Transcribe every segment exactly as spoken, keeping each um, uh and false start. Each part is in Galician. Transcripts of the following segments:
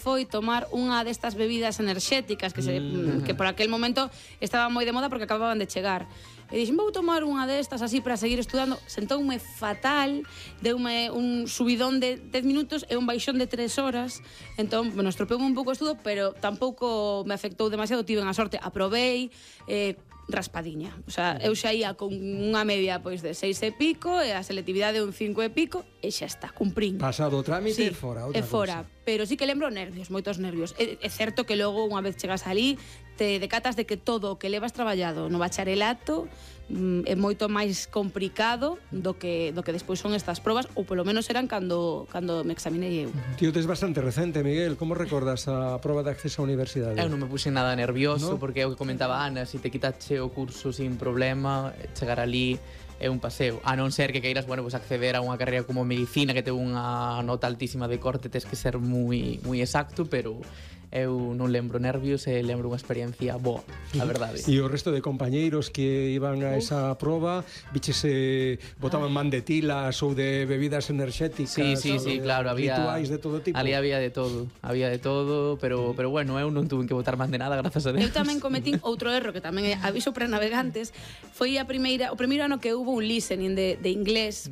foi tomar unha destas bebidas enerxéticas que, se, mm. que por aquel momento estaban moi de moda porque acababan de chegar. E dixen, vou tomar unha destas así para seguir estudando. Sentoume fatal, deume un subidón de dez minutos e un baixón de tres horas. Entón, bueno, estropeume un pouco o estudo, pero tampouco me afectou demasiado, tive unha sorte, aprobei, eh, raspadiña. O sea, eu xa ia con unha media pois de seis e pico e a selectividade un cinco e pico e xa está, cumprín. Pasado o trámite, sí, fora, outra e fora. Cosa. Pero sí que lembro nervios, moitos nervios. É, é certo que logo, unha vez chegas ali, te decatas de que todo o que levas traballado no bacharelato mm, é moito máis complicado do que do que despois son estas probas, ou polo menos eran cando cando me examinei eu. Tío, tes bastante recente, Miguel. Como recordas a proba de acceso á universidade? Eu non me puxe nada nervioso, ¿no? Porque é o que comentaba Ana, se si te quitache o curso sin problema, chegar ali é un paseo. A non ser que queiras, bueno, pues acceder a unha carreira como medicina que ten unha nota altísima de corte, tes que ser moi moi exacto, pero eu non lembro nervios e lembro unha experiencia boa, a verdade. E o resto de compañeiros que iban a esa proba, bichese botaban man de tilas ou de bebidas enerxéticas? Sí, sí, sí, claro, había rituais de todo tipo. Ali había de todo, había de todo, pero pero bueno, eu non tuve que botar man de nada, grazas a Deus. Eu tamén cometín outro erro que tamén é aviso para navegantes, foi a primeira, o primeiro ano que hubo un listening de de inglés.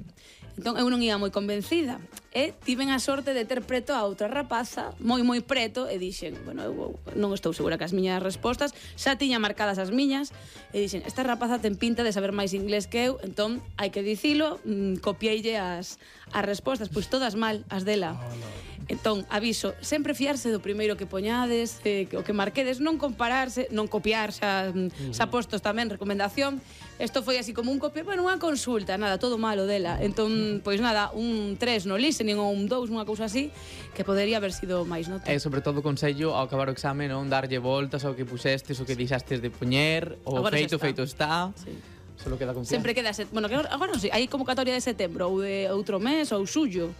Entón eu non ia moi convencida e tiven a sorte de ter preto a outra rapaza moi moi preto e dixen, bueno, eu non estou segura que as miñas respostas, xa tiña marcadas as miñas e dixen, esta rapaza ten pinta de saber máis inglés que eu, entón hai que dicilo, mmm, copieille as, as respostas, pois todas mal, as dela. Oh, no. Entón, aviso, sempre fiarse do primeiro que poñades, eh, o que marquedes, non compararse, non copiar, xa, uh-huh. xa postos tamén, recomendación. Isto foi así como un copia, bueno, unha consulta, nada, todo malo dela. Entón, pois nada, un tres no listening ou un dous, unha cousa así, que podería haber sido máis nota. E sobre todo consello ao acabar o exame, non darlle voltas ao que pusestes, o que dixastes de poñer, o agora feito, está. feito está. Sí. Solo queda confianza. Sempre queda, set... bueno, que agora non sei, hai convocatoria de setembro ou de outro mes ou xullo.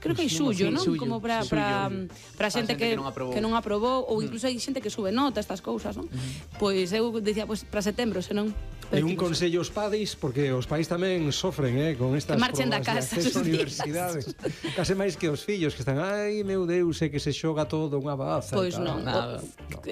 Creo que hai suyo, non? Como para para para xente que que non aprobou ou incluso hai xente que sube nota estas cousas, non? Pois eu dicía, pois para setembro, senón. E un consello aos padres, porque os pais tamén sofren, eh, con estas probas de acceso á universidade. Case máis que os fillos que están, ai, meu Deus, é que se xoga todo unha baza. Pois non.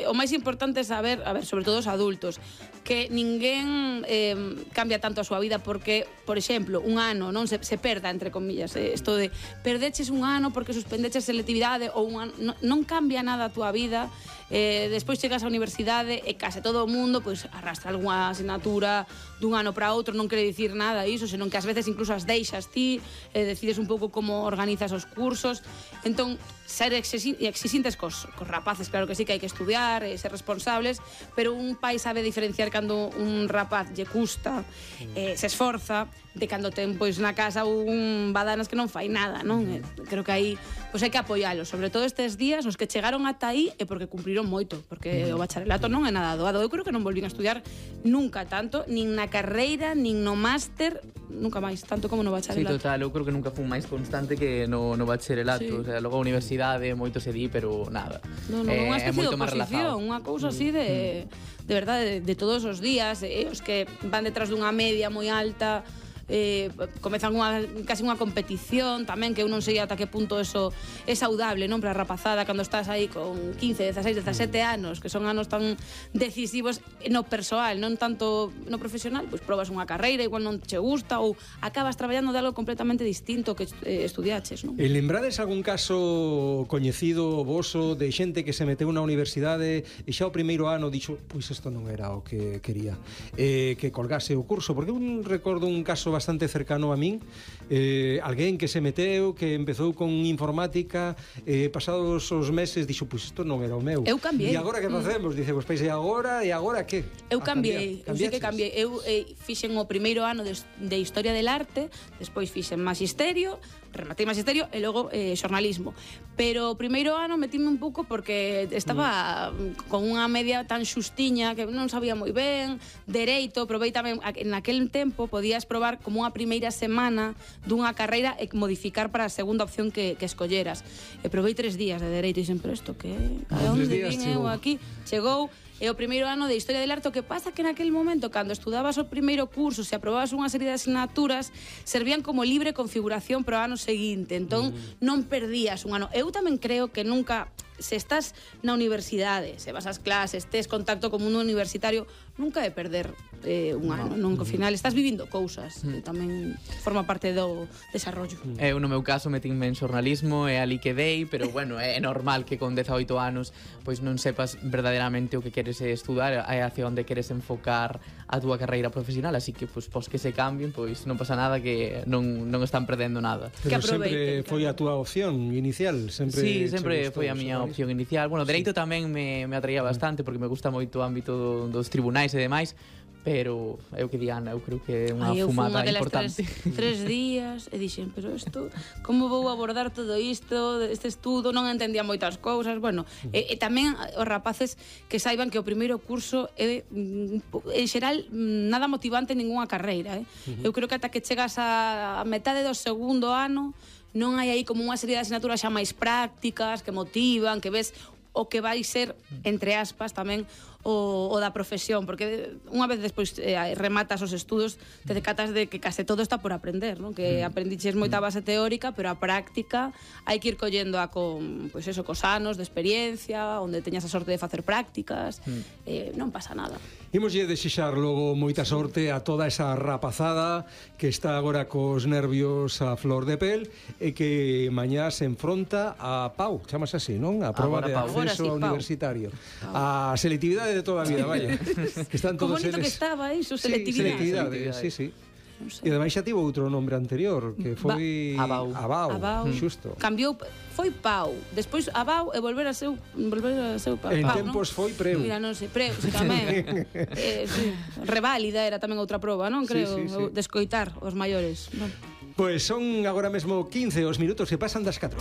O máis importante é saber, a ver, sobre todo os adultos, que ninguén eh, cambia tanto a súa vida porque, por exemplo, un ano non se, se perda, entre comillas, eh, isto de perdeches un ano porque suspendeches selectividade ou un ano, non, non cambia nada a túa vida. Eh, despois chegas á universidade e case todo o mundo pois arrastra algunha asignatura dun ano para outro, non quere dicir nada iso, senón que ás veces incluso as deixas ti, eh, decides un pouco como organizas os cursos. Entón, ser exixintes cos, cos rapaces, claro que sí, que hai que estudiar e ser responsables, pero un pai sabe diferenciar cando un rapaz lle custa, eh, se esforza, de cando ten pois na casa un badanas que non fai nada, non? Eh, creo que aí pois hai que apoiálo, sobre todo estes días os que chegaron ata aí é porque cumpriron moito, porque o bacharelato non é nada doado. Eu creo que non volvín a estudiar nunca tanto, nin na carreira, nin no máster, nunca máis, tanto como no bacharelato. Sí, total, eu creo que nunca fui máis constante que no, no bacharelato, sí. O sea, logo a universidade moito se di, pero nada. Non, non, eh, unha especie de oposición, unha cousa así de de verdade, de, de todos os días, eh, os que van detrás dunha media moi alta, eh, comezan unha, casi unha competición tamén, que eu non sei ata que punto eso é saudable, non, para a rapazada cando estás aí con quince, dezaseis, dezasete anos, que son anos tan decisivos no persoal, non tanto no profesional, pois probas unha carreira, igual non che gusta ou acabas traballando de algo completamente distinto que eh, estudiaches, non? E lembrades algún caso coñecido voso de xente que se meteu na universidade e xa o primeiro ano dixo, pois isto non era o que quería, eh, que colgase o curso, porque un recordo un caso bastante cercano a min, eh, alguén que se meteu, que empezou con informática, eh, pasados os meses dixo, pois isto non era o meu. Eu cambiei. E agora que facemos? Dice, pois pois e agora, e agora que? Eu cambiei, eu sei que cambiei. Eu eh, fixen o primeiro ano de, de Historia del Arte, despois fixen Magisterio, rematei Magisterio e logo eh, Xornalismo. Pero o primeiro ano metíme un pouco porque estaba mm. con unha media tan xustiña que non sabía moi ben, dereito, probei tamén, en aquel tempo podías probar como unha primeira semana dunha carreira e modificar para a segunda opción que, que escolleras. E probei tres días de dereito e sempre isto que... A onde vin eu aquí? Chegou... E o primeiro ano de Historia del Arte, o que pasa que naquele momento, cando estudabas o primeiro curso, se aprobabas unha serie de asignaturas, servían como libre configuración para o ano seguinte. Entón, mm. non perdías un ano. Eu tamén creo que nunca se estás na universidade, se vas ás clases, tes contacto co mundo universitario, nunca é perder eh, un ano, non? Que ao final estás vivindo cousas, que tamén forma parte do desarrollo. Eu, no meu caso, metinme en xornalismo e ali quedei, pero, bueno, é normal que con dezaoito anos pois non sepas verdadeiramente o que queres estudar e hacia onde queres enfocar a túa carreira profesional, así que, pois, pos que se cambien, pois non pasa nada, que non, non están perdendo nada. Pero sempre foi a túa opción inicial, sempre. Sí, sempre foi a miña opción inicial. Bueno, dereito tamén me, me atraía bastante, porque me gusta moito o ámbito do, dos tribunais e demais, pero eu que di Ana, eu creo que é unha Ai, fumada eu importante. Tres, tres días e dixen, pero isto, como vou abordar todo isto, este estudo, non entendía moitas cousas, bueno, e, e tamén os rapaces que saiban que o primeiro curso é, en xeral, nada motivante en ningunha carreira, eh? Uh-huh. Eu creo que ata que chegas a, a metade do segundo ano, non hai aí como unha serie de asignaturas xa máis prácticas, que motivan, que ves o que vai ser, entre aspas, tamén o, o da profesión, porque unha vez despois eh, rematas os estudos, te decatas de que case todo está por aprender, non? Que aprendiches moita base teórica, pero a práctica hai que ir collendo a con, pois eso, cos anos de experiencia, onde teñas a sorte de facer prácticas, mm. eh, non pasa nada. Imoslle desexar logo moita sorte a toda esa rapazada que está agora cos nervios a flor de pel e que mañá se enfronta a Pau, chamas así, non? A proba agora de Pau. acceso Agora sí, universitario. Pau. A selectividade de toda a vida, vaya. Que están todos Como bonito eles... que estaba iso, Sí, selectividade. selectividade, sí, sí. Non sei. E ademais xa tivo outro nombre anterior, que foi... Abau. Abau, Abau. xusto. Cambiou, foi Pau, despois Abau e volver a ser volver a ser Pau, En Pau, tempos non? foi Preu. Mira, non sei, Preu, sí, tamén. eh, sí. Reválida era tamén outra proba, non? Creo, Sí, sí, sí. de escoitar os maiores, non? Pois son agora mesmo quince os minutos que pasan das catro.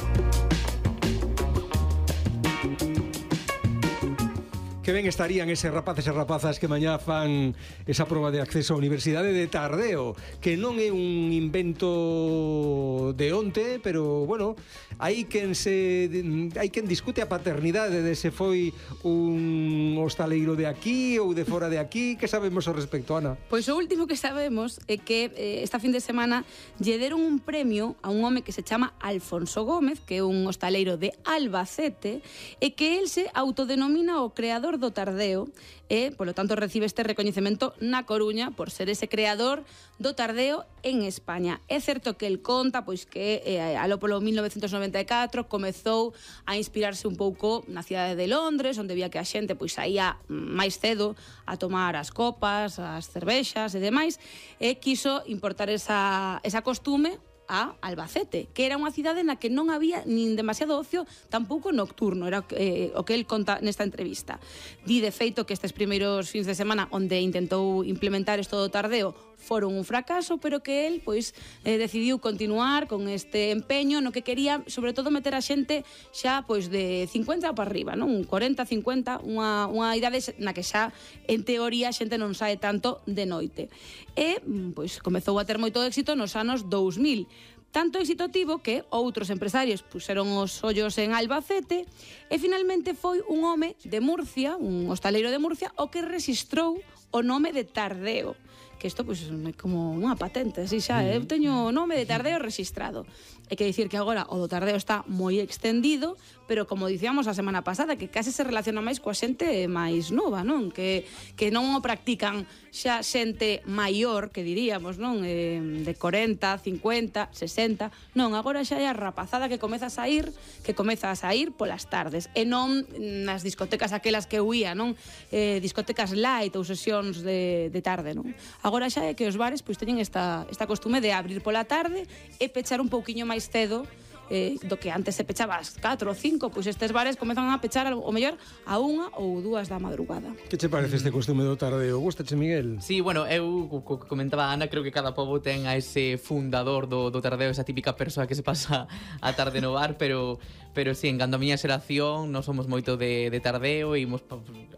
Que ben estarían eses rapaces e rapazas que mañá fan esa proba de acceso á Universidade de Tardeo, que non é un invento de onte, pero, bueno, hai quen se hai quen discute a paternidade de se foi un hostaleiro de aquí ou de fora de aquí. Que sabemos ao respecto, Ana? Pois o último que sabemos é que eh, esta fin de semana lle deron un premio a un home que se chama Alfonso Gómez, que é un hostaleiro de Albacete, e que el se autodenomina o creador do Tardeo e, polo tanto, recibe este recoñecemento na Coruña por ser ese creador do Tardeo en España. É certo que el conta pois que eh, aló polo mil novecentos noventa e catro comezou a inspirarse un pouco na cidade de Londres, onde vía que a xente pois saía máis cedo a tomar as copas, as cervexas e demais, e quiso importar esa, esa costume a Albacete, que era unha cidade na que non había nin demasiado ocio, tampouco nocturno, era eh, o que el conta nesta entrevista. Di de feito que estes primeiros fins de semana onde intentou implementar isto do Tardeo foron un fracaso, pero que el pois eh, decidiu continuar con este empeño no que quería, sobre todo, meter a xente xa pois de cincuenta para arriba, non? Un cuarenta, cincuenta, unha, unha idade na que xa en teoría a xente non sae tanto de noite. E pois comezou a ter moito éxito nos anos dous mil. Tanto éxito tivo que outros empresarios puseron os ollos en Albacete e finalmente foi un home de Murcia, un hostaleiro de Murcia, o que rexistrou o nome de Tardeo. Que isto pois é como unha patente, así xa, eu teño o nome de Tardeo rexistrado. É que dicir que agora o do Tardeo está moi extendido, pero como dicíamos a semana pasada, que case se relaciona máis coa xente máis nova, non? Que, que non o practican xa xente maior, que diríamos, non? Eh, de cuarenta, cincuenta, sesenta, non, agora xa é a rapazada que comeza a sair, que comeza a sair polas tardes, e non nas discotecas aquelas que huía, non? Eh, discotecas light ou sesións de, de tarde, non? Agora xa é que os bares pois teñen esta, esta costume de abrir pola tarde e pechar un pouquiño máis cedo, eh, do que antes se pechaba ás catro ou cinco, pois estes bares comezan a pechar o mellor a unha ou dúas da madrugada. Que che parece este costume do Tardeo? Gustache, Miguel? Sí, bueno, eu, co que comentaba Ana, creo que cada pobo ten a ese fundador do, do Tardeo, esa típica persoa que se pasa a tarde no bar, pero pero sí, en cando a miña xeración non somos moito de, de Tardeo, imos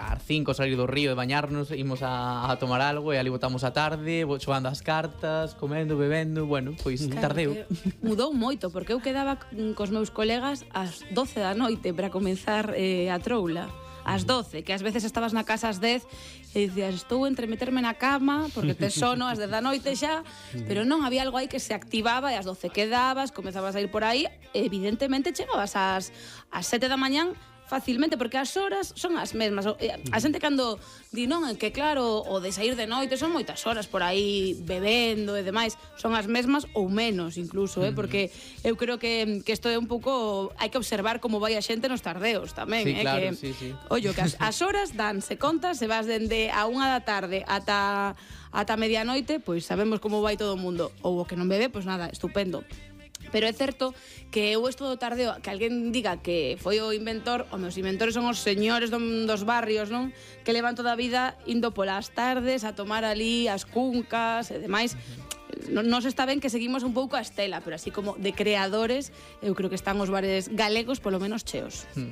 ás cinco salir do río e bañarnos, imos a, a tomar algo e ali botamos a tarde, xogando as cartas, comendo, bebendo, bueno, pois claro, Tardeo. Mudou moito, porque eu quedaba cos meus colegas ás doce da noite para comenzar eh, a troula. Ás doce, que ás veces estabas na casa ás dez e dicías, estou entre meterme na cama porque te sono ás dez da noite xa, pero non, había algo aí que se activaba e ás doce quedabas, comezabas a ir por aí, evidentemente chegabas ás, ás sete da mañán facilmente, porque as horas son as mesmas. A xente cando di non, que claro, o de sair de noite son moitas horas por aí bebendo e demais, son as mesmas ou menos incluso, eh? Porque eu creo que, que isto é un pouco, hai que observar como vai a xente nos tardeos tamén, sí, eh? Claro, que, sí, sí. Ollo, que as, as horas danse conta, se vas dende a unha da tarde ata ata medianoite, pois sabemos como vai todo o mundo. Ou o que non bebe, pois nada, estupendo. Pero é certo que eu esto do tardeo, que alguén diga que foi o inventor, o meus inventores son os señores dos barrios, non? Que levan toda a vida indo polas tardes a tomar ali as cuncas e demais. Non nos está ben que seguimos un pouco a estela, pero así como de creadores, eu creo que están os bares galegos polo menos cheos. Mm.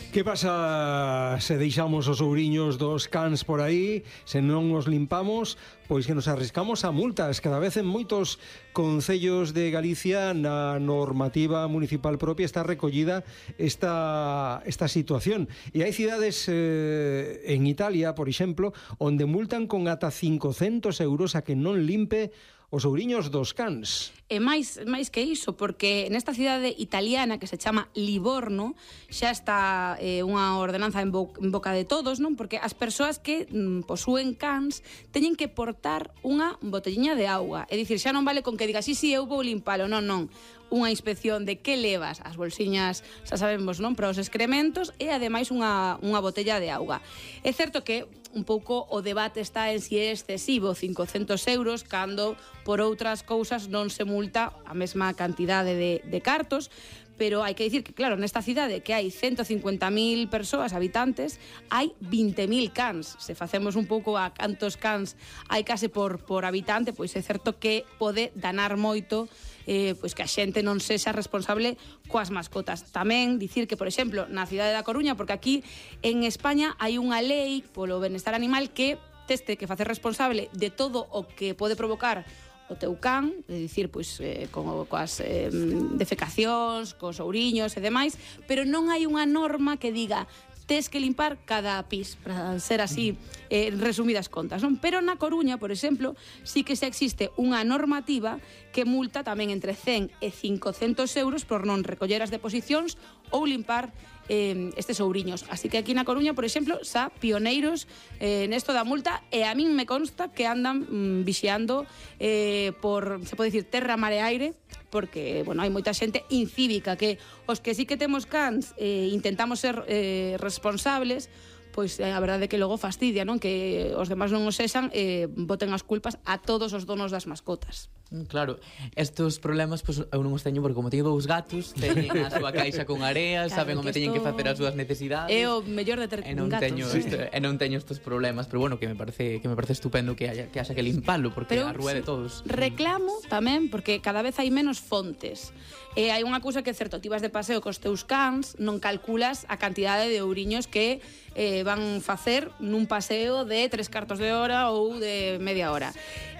Que pasa se deixamos os ouriños dos cans por aí, se non os limpamos, pois que nos arriscamos a multas. Cada vez en moitos concellos de Galicia na normativa municipal propia está recollida esta, esta situación. E hai cidades eh, en Italia, por exemplo, onde multan con ata cincocentos euros a que non limpe os ouriños dos cans. E máis, máis que iso, porque nesta cidade italiana que se chama Livorno xa está eh, unha ordenanza en, bo, en boca de todos, non? Porque as persoas que mm, posúen cans teñen que portar unha botelliña de auga. É dicir, xa non vale con que digas, sí, sí, eu vou limpalo, non, non. Unha inspección de que levas as bolsiñas, xa sabemos, non, para os excrementos e ademais unha, unha botella de auga. É certo que un pouco o debate está en si é excesivo cincocentos euros cando por outras cousas non se multa a mesma cantidade de, de cartos, pero hai que dicir que, claro, nesta cidade que hai ciento cincuenta mil persoas, habitantes, hai vinte mil cans. Se facemos un pouco a cantos cans hai case por, por habitante, pois é certo que pode danar moito eh, pois que a xente non sexa responsable coas mascotas. Tamén dicir que, por exemplo, na cidade da Coruña, porque aquí en España hai unha lei polo benestar animal que teste que facer responsable de todo o que pode provocar o teu can, é dicir, pois, eh, co, coas eh, defecacións, cos ouriños e demais, pero non hai unha norma que diga tes que limpar cada pis, para ser así eh, resumidas contas, non? Pero na Coruña, por exemplo, sí que se existe unha normativa que multa tamén entre cen e cincocentos euros por non recoller as deposicións ou limpar eh, estes ouriños. Así que aquí na Coruña, por exemplo, xa pioneiros eh, nesto da multa, e a min me consta que andan mm, vixiando eh, por, se pode dicir, terra, mar e aire, porque, bueno, hai moita xente incívica que os que sí que temos cans eh, intentamos ser eh, responsables, pois eh, a verdade é que logo fastidia, non? Que os demás non os sexan e eh, boten as culpas a todos os donos das mascotas. Claro, estos problemas pues, eu non os teño porque como teño dous gatos, teñen a súa caixa con areas, claro, saben onde teñen que facer as súas necesidades. É o mellor de ter e non gatos. Teño Sí. este, e non teño estes problemas, pero bueno, que me parece que me parece estupendo que haya que haxa que limpalo porque pero, a rúa sí, de todos. Reclamo tamén porque cada vez hai menos fontes. E hai unha cousa que é certo, ti vas de paseo cos teus cans, non calculas a cantidade de ouriños que eh, van facer nun paseo de tres cartos de hora ou de media hora.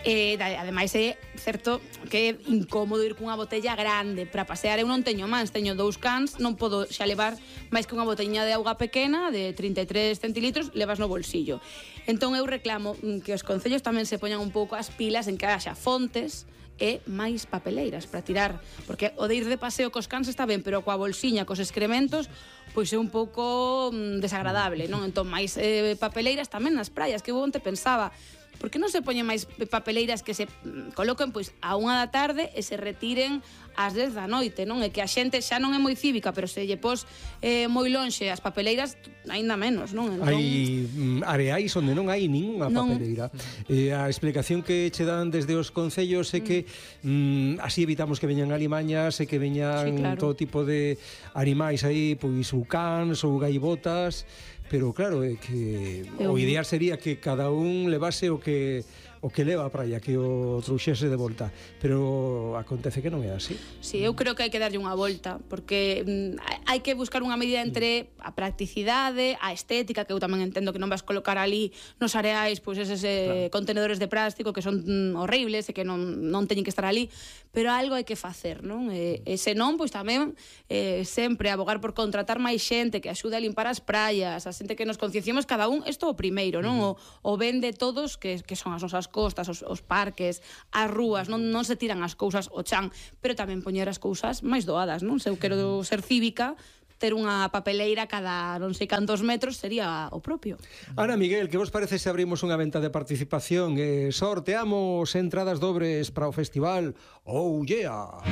E ademais é certo que é incómodo ir cunha botella grande para pasear. Eu non teño mans, teño dous cans, non podo xa levar máis que unha botellinha de auga pequena de trinta e tres centilitros, levas no bolsillo. Entón eu reclamo que os concellos tamén se poñan un pouco as pilas en que haxa fontes e máis papeleiras para tirar, porque o de ir de paseo cos cans está ben, pero coa bolsiña, cos excrementos, pois é un pouco mm, desagradable, non? Entón, máis eh, papeleiras tamén nas praias, que eu onte pensaba, por que non se poñen máis papeleiras que se mm, coloquen pois a unha da tarde e se retiren ás dez da noite, non? E que a xente xa non é moi cívica, pero se lle pos eh, moi lonxe as papeleiras, aínda menos, non? Entón... Hai mm, areais onde non hai ningunha non. papeleira. Eh, a explicación que che dan desde os concellos é que mm, así evitamos que veñan alimañas e que veñan sí, claro. todo tipo de animais aí, pois ou cans ou gaivotas, pero claro, é que Eu... o ideal sería que cada un levase o que o que leva a praia, que o trouxese de volta, pero acontece que non é así. Sí, eu creo que hai que darlle unha volta, porque mm, hai que buscar unha medida entre a practicidade, a estética, que eu tamén entendo que non vas colocar ali nos areais pois eses eh, claro. contenedores de plástico que son mm, horribles e que non, non teñen que estar ali, pero algo hai que facer, non? E, e se non, pois tamén eh, sempre abogar por contratar máis xente que axude a limpar as praias, a xente que nos concienciemos cada un, isto o primeiro, non? Uh -huh. O, o ben de todos, que, que son as nosas costas, os, os parques, as rúas, non, non se tiran as cousas ao chan, pero tamén poñer as cousas máis doadas, non? Se eu quero ser cívica, ter unha papeleira cada non sei cantos metros sería o propio. Ana, Miguel, que vos parece se abrimos unha venta de participación e sorteamos entradas dobres para o festival Oh Yeah?